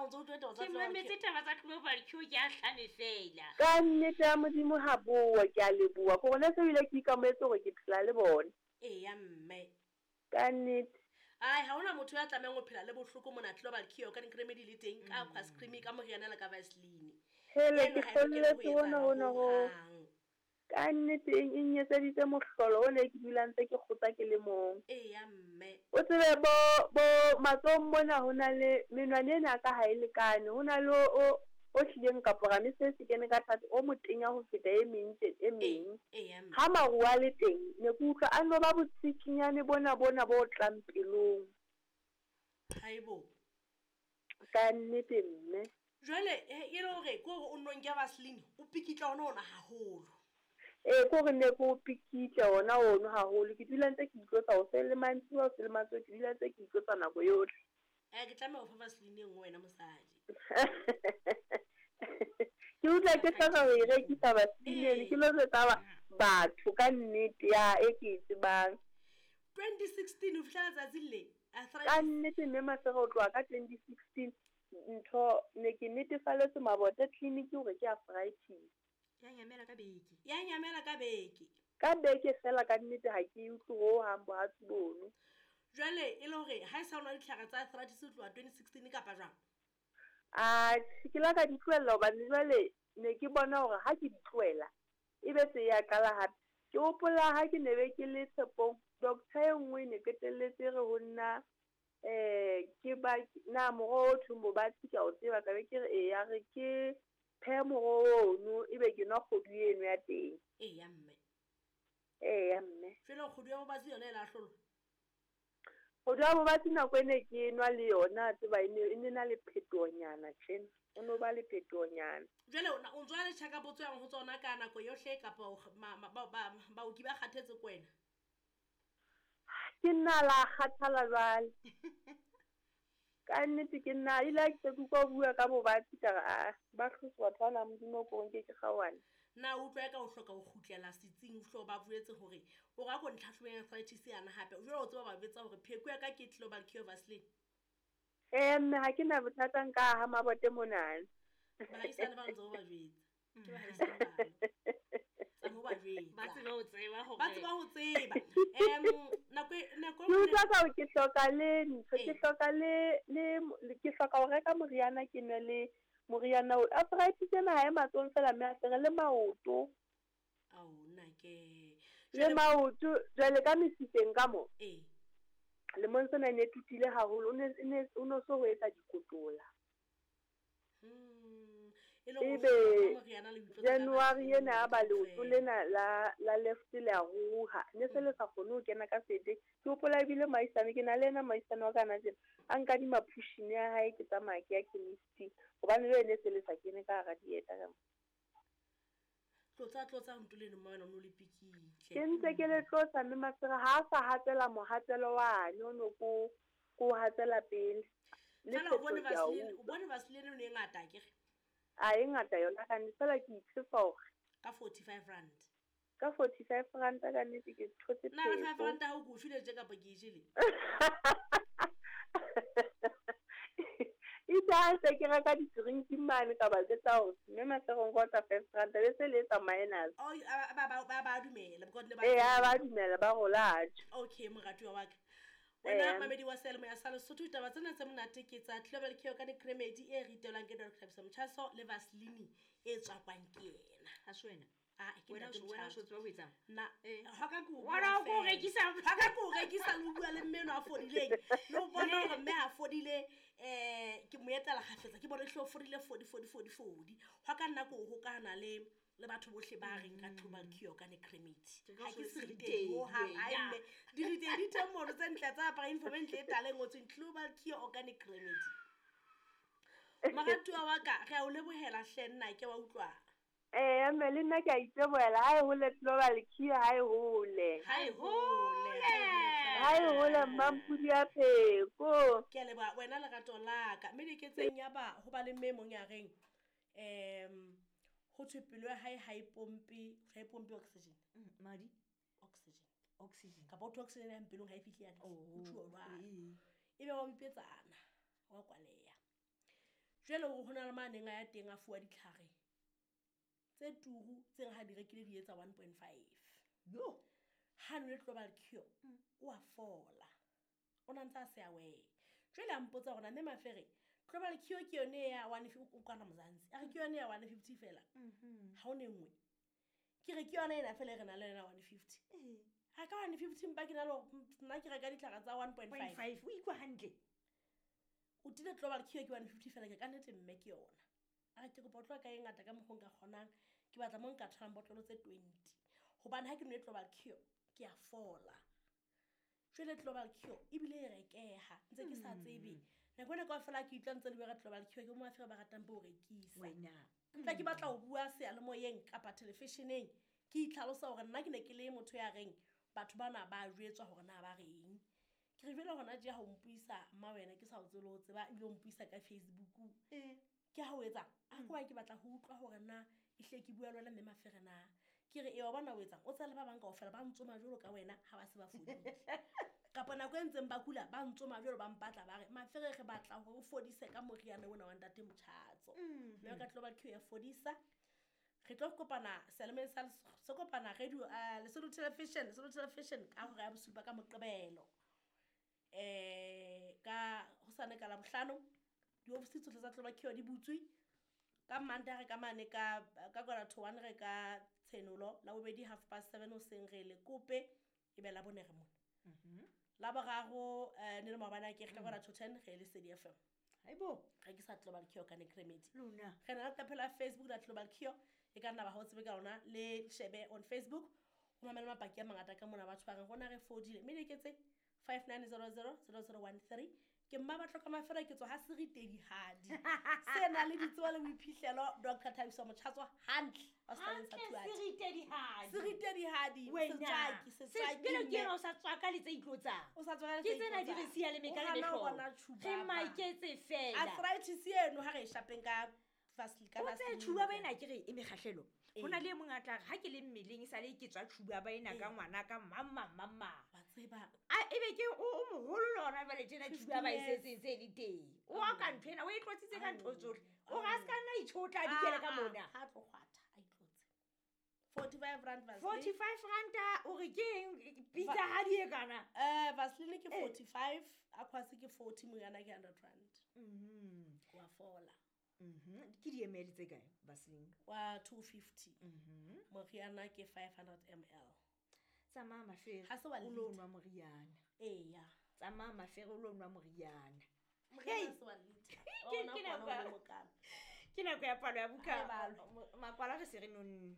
o ntse o utlwa taba tsa Ke mametse taba tsa Global Cure ke a hlame fela. Ka nnete ya Modimo ha boa, ke a leboha. Ke gona se ebile ke ikamoetse gore ke phela le bona. Eya mme. Ka nnete. Ai, ha hona motho ya tlamehang ho phela le bohloko mona Global Cure ka Remedy le teng ka Aquas Cream ka moriana le ka Vaseline. Hele, Eno ke ha e lokele ho hlolletswe hona etsahala hona ho. hohang. Ka nnete e nketseditse mohlolo o ne ke dula ntse ke kgotsa ke le mong. Eya mme. O tsebe bo bo matsohong mona ho na le menwana ena ya ka ha e lekane. Ho na le o o hlileng kapo rame se se kene ka thata o motenya ho feta e meng tje e meng. Eya mme. Ha maruo a le teng ne ke utlwa a no ba botsikinyane bona bona bo tlang pelong. Haibo. Ka nnete mme. Jwale e le hore ke hore o nno nke Vaseline o pikitla ona ona haholo. Ee, ke hore ne ke o pikitle ona ono haholo. Ke dula ntse ke itlotsa hoseng le mantsiboya, hoseng le mantsiboya, ke dula ntse ke itlotsa nako yohle. Ke tlameha ho fa Vaseline e nngwe wena mosadi. Ke utlwa ke hloka ho e rekisa Vaseline eno, ke lo jwetsa batho ka nnete ya e ke e tsebang. 2016 ho fihlela letsatsing le Ka arthritis. nnete mme Masego ho tloha ka 2016 ntho ne ke netefaletswe Mabote clinic hore ke arthritis. Ya nyamela ka beke. Ya nyamela ka beke. Ka beke fela ka nnete ha ke e utlwe hohang bohatsu bono. Jwale e le hore ha e sa nwa ditlhare tsa arthritis ho tloha 2016 kapa jwang? Atjhe, ke la ka di tlohella hobane jwale ne ke bona hore ha ke di tlohela ebe se ya qala hape. Ke hopola ha ke ne be ke le Tshepong, doctor e nngwe ne qetelletse e re ho nna ke ba na moroho o thweng bobatsi ke a o tseba, ka be ke re eya re ke phehe moroho ono ebe ke nwa kgodu eno ya teng. Eya mme. Eya mme. Jwale kgodu ya bobatsi yona e la hlolwa? Kgodu ya bobatsi nako e ne ke nwa le yona tseba e ne na le phetohonyana tjena. O no ba le phetohonyana. Jwale o ntso le check up tswang ho tsona ka nako yohle kapa baoki ba kgathetse ke wena? Ke nna la kgathala jwale. Ka nnete ke nna ile ha ke se ke utlwa o bua ka bobatsi ka re a ba hlotse batho bana Modimo ko nke ke kgaohane. Na o utlwa eka o hloka ho kgutlela setsing o hlo ba jwetse hore o re a ko ntlhahlobeng arthritis yana hape. Jwale o tseba ba jwetsa hore pheko ya ka ke Global Cure Vaseline. Ee mme ha ke na bothata nka aha Mabote monana. Baahisane ba ntse o ba jwetsa. Ke baahisane bana. Tsa mo ba jwetsa. Ba tseba ho tseba hore. Ba tseba ho tseba. Nako nako Ke utlwa ka hore ke hloka le ntho, ke hloka le ke hloka ho reka moriana ke nwe le moriana o. Arthritis ena ha e matsohong fela mme a fere le maoto. Ao nna ke. Le maoto jwale ka mesifeng ka mo. Ee. Lemong sena e ne tutile haholo, o no so ho etsa dikotola. Ebe January ena ya ba leoto lena la left le a ruruha, ne se le sa kgone ho kena ka sete. Ke hopola ebile moahisane, ke na le yena moahisane wa ka hana tjena, a nkadima pushini ya hae ke tsamaya ke ya chemist-ing hobane le ne se le sa kene ka hara dieta ka mo. Tlotsa nto leno mma wena o no le pikitle. Ke ntse ke le tlotsa mme Masego ha a sa hatsela mohatselo wane o no ko hatsela pele. Fela o bone Vaseline, o bone Vaseline e ngata akere? A e ngata yona ka nnete, fela ke itshepa hore ka 45 rand. Ka 45 rand ka nnete ke thotse Na le pheko. 5 rand ha o ko file tje kapa ke e jele? Itse ha se ke reka di-drink mane ka ba jwetsa hore mme Masego nka otla 5 rand, be se le etsa minus. Oh, ba dumela, because ne ba Ee, ba dumela, ba rola tjho. Okay, moratuwa wa ka. Wena mamedi wa Seyalemoya sa Lesotho, ditaba tsena tse monate ke tsa Global Cure ka Remedy e ritelwang ke Dr. Thabiso Motjhaso le Vaseline e tswakwang ke yena. Ha se wena? Ah, ke Wena ntate o wena o Motjhaso. so tseba ho etsang? Na, ha ka ke o Wena o ko bua fela. rekisa. Ha ka ke o rekisa le ho bua le mme enwa a fodileng. Le ho bona hore mme ha fodile, ke mo etela kgafetsa, ke bone hle o fodile, fodi, fodi, fodi, fodi. Hwa ka nna ke o hokahana le batho bohle ba reng ka Global Cure ka Remedy. Ke ka Ha ke so se se ritehi ritehi, hohang. Ai ya. mme, diritehi di teng mono tse ntle tsa apara uniform e ntle e tala e ngotsweng Global Cure Organic Remedy. Moratuwa wa ka, re a o lebohela hle nna ke wa utlwa. Ee, mme le nna ke a itebohela. Ha e hole Global Cure, ha e hole. Ha e hole. Ha e hole Mmampudi ya Pheko. Ke a leboha wena lerato la ka. Mme diketseng ya ba ho ba le mme e mong ya reng, ho thwe pelo ya hae ha e pompe, ha e pompe oxygen. Madi? Oxygen. Oxygen. Kapa ho thwe oxygen ya pelong ha e fihle hantle. Oh, Ho thuwa jwalo. ee. Ebe wa bipetsana, wa kwaleha. Jwale hore ho na le maneng a ya teng a fuwa ditlhare tse turu tse ha di rekile di etsa 1.5. Yo. Ha nwele global cure o a fola, o na ntse a se aware. Jwale a mpotsa hore na mme Mafere global cure ke yone ya 150 o kwana Mzansi, a re ke yone ya 150 fela, ha o ne nngwe. Ke re ke yona ena fela e re nang le yona 150. Ha ka 150 mpa ke na le hore nna ke reka ditlhare tsa 1.5. 5 o ikwa hantle. O tile global cure ke 150 fela, ke ka nnete mme ke yona. A re ke kopa o tloha ka e ngata ka mokgwa o nka kgonang, ke batla mo nka tholang botlolo tse 20. Hobane ha ke nwe global cure ke a fola. Jwale global cure ebile e rekeha ntse ke sa tsebe. Nako ena kaofela ke utlwa ntse le bua ka global cure, ke bo Mafere ba ratang bo rekisa. Wena. Tla ke batla ho bua seyalemoyeng kapa television-eng, ke itlhalosa hore nna ke ne ke le motho ya reng batho bana ba jwetswa hore na ba reng. Ke re jwale hona tje ha o mpuisa mma wena ke sa o tsebe le ho tseba, ebile o mpuisa ka Facebook. Ke ha o etsang? A ke wa ke batla ho utlwa hore na ehlile ke bua le wena mme Mafere na. Ke re e wa bona o etsang? O tseba le ba bang kaofela ba ntsoma jwalo ka wena ha ba se ba fodile. Kapa nako e ntseng ba kula ba ntsoma jwalo ba mpatla ba re Mafere re batla hore o fodise ka moriana ona wa ntate Motjhatso. Mme ka global cure ya fodisa. Re tlo kopana selemeng sa se kopana radio Lesotho Television, Lesotho Television ka hora ya bosupa ka Moqebelo. Ka hosane ka Labohlano diofisi tsohle tsa global cure di butswe. Ka Mantaha re ka mane ka 12:45 re ka Tshenolo, la bobedi 7:30 hoseng re le kope ebe la bone re mona. La boraro ne le maobane ke re ka 9:45 re le Lesedi FM. Haibo. Re ke sa global cure ka Necremedy. Lona. Re na le leqephe la Facebook la global cure, e ka nna ba ha o tsebe ka lona, le shebe on Facebook. O mamele mapaki a mangata ka mona batho ba reng rona re fodile. Mme leketse 5900 0013. Ke mma batlo ka Mafere ke tswa ha Seritedihadi. Se na le ditsebo le boiphihlelo Dr. Thabiso Motjhatso hantle. Wa setaleng sa Hantle Thuati. Seritedihadi. Seritedihadi, Wena. setswaki, setswaki Jwale ke mme. ena o sa tswaka le tse itlotsang. O sa tswaka le Ke tse tsena di re itlotsang. siya le meka O le hana ho mehlolo. bona tjhuba Re ba. maketse fela. Arthritis eno ha re e shapeng ka Vaseline, ka O tse Vaseline. tjhuba ba ena ke re e mekgahlelo. Ee. Ho na le e mong a tla re ha ke le mmeleng e sale ke tswa tjhuba ba ena ka Ee. ngwana ka mang mang mang mang. Wa tseba. A ebe ke o moholo le hona jwale tjena tjhuba ba e 15 years. setseng se le teng. O a ka ntho ena o e tlotsitse ka ntho tsohle. O re a ska nna itjhotla a dikele ka Ah, ah, mona. Ha tlo kgwatha a itlotse. 45 rand Vaseline. 45 ranta o re ke eng pitsa ha di e kana. Vaseline ke 45, Aquas ke 40, moriana ke 100 rand. Wa fola. Ke di ml tse kae Vaseline? Wa 250. Moriana ke 500 ml. Tsamaya Mafere. Ha se wa o lo liter. nwa moriana. Eya. Tsamaya Mafere o lo nwa moriana. Moriana se wa liter. Ke- Ona ke kwana nako ya- o le mokana. Ke nako ya palo ya buka. Ha e balwe. Makwala re se re nonne.